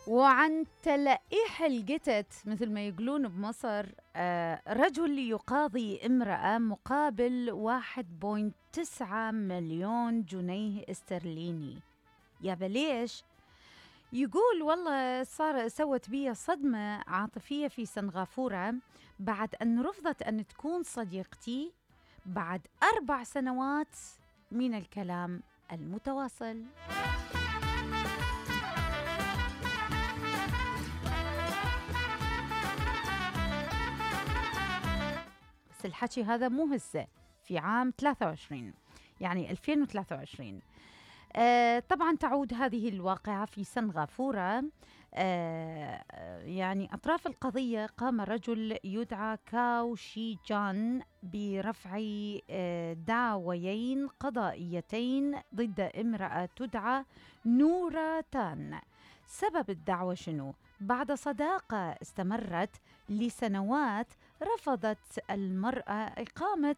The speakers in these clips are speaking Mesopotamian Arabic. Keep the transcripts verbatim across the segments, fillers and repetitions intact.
وعن تلقيح القتت مثل ما يقولون بمصر، آه رجل يقاضي امرأة مقابل واحد فاصلة تسعة مليون جنيه استرليني. يا بليش؟ يقول والله صار سوت بي صدمة عاطفية في سنغافورة بعد أن رفضت أن تكون صديقتي بعد أربع سنوات من الكلام المتواصل. بس الحكي هذا مو هسه، في عام ثلاثة وعشرين، يعني ألفين وثلاثة وعشرين. آه طبعا تعود هذه الواقعة في سنغافورة. آه يعني أطراف القضية قام رجل يدعى كاو شي جان برفع آه دعويين قضائيتين ضد امرأة تدعى نورا تان. سبب الدعوة شنو؟ بعد صداقة استمرت لسنوات رفضت المرأة إقامة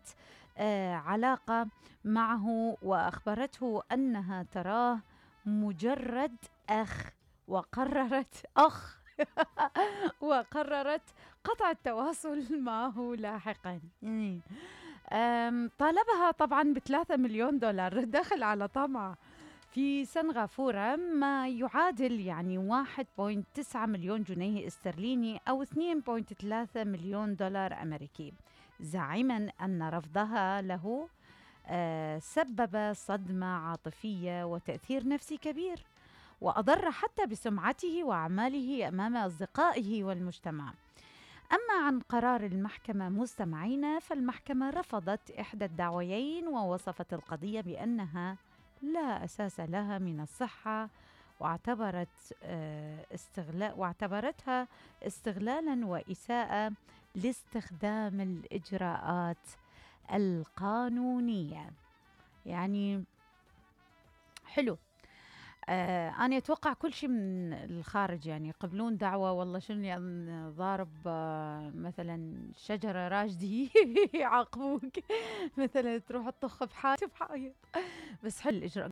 آه علاقة معه، وأخبرته أنها تراه مجرد أخ، وقررت أخ وقررت قطع التواصل معه لاحقا. طالبها طبعا بثلاثة مليون دولار دخل على طمع في سنغافورة، ما يعادل يعني واحد فاصلة تسعة مليون جنيه استرليني أو اثنين فاصلة ثلاثة مليون دولار أمريكي، زاعما أن رفضها له آه سبب صدمة عاطفية وتأثير نفسي كبير، وأضر حتى بسمعته وأعماله أمام أصدقائه والمجتمع. أما عن قرار المحكمة مستمعين، فالمحكمة رفضت إحدى الدعويين ووصفت القضية بأنها لا أساس لها من الصحة، واعتبرت استغلال واعتبرتها استغلالا وإساءة لاستخدام الإجراءات القانونية. يعني حلو. آه أنا أتوقع كل شيء من الخارج، يعني يقبلون دعوة والله شنو يعني ضارب آه مثلا شجرة راجدي يعاقبوك مثلا تروح تطخ بحائط، بس حل الإجراء.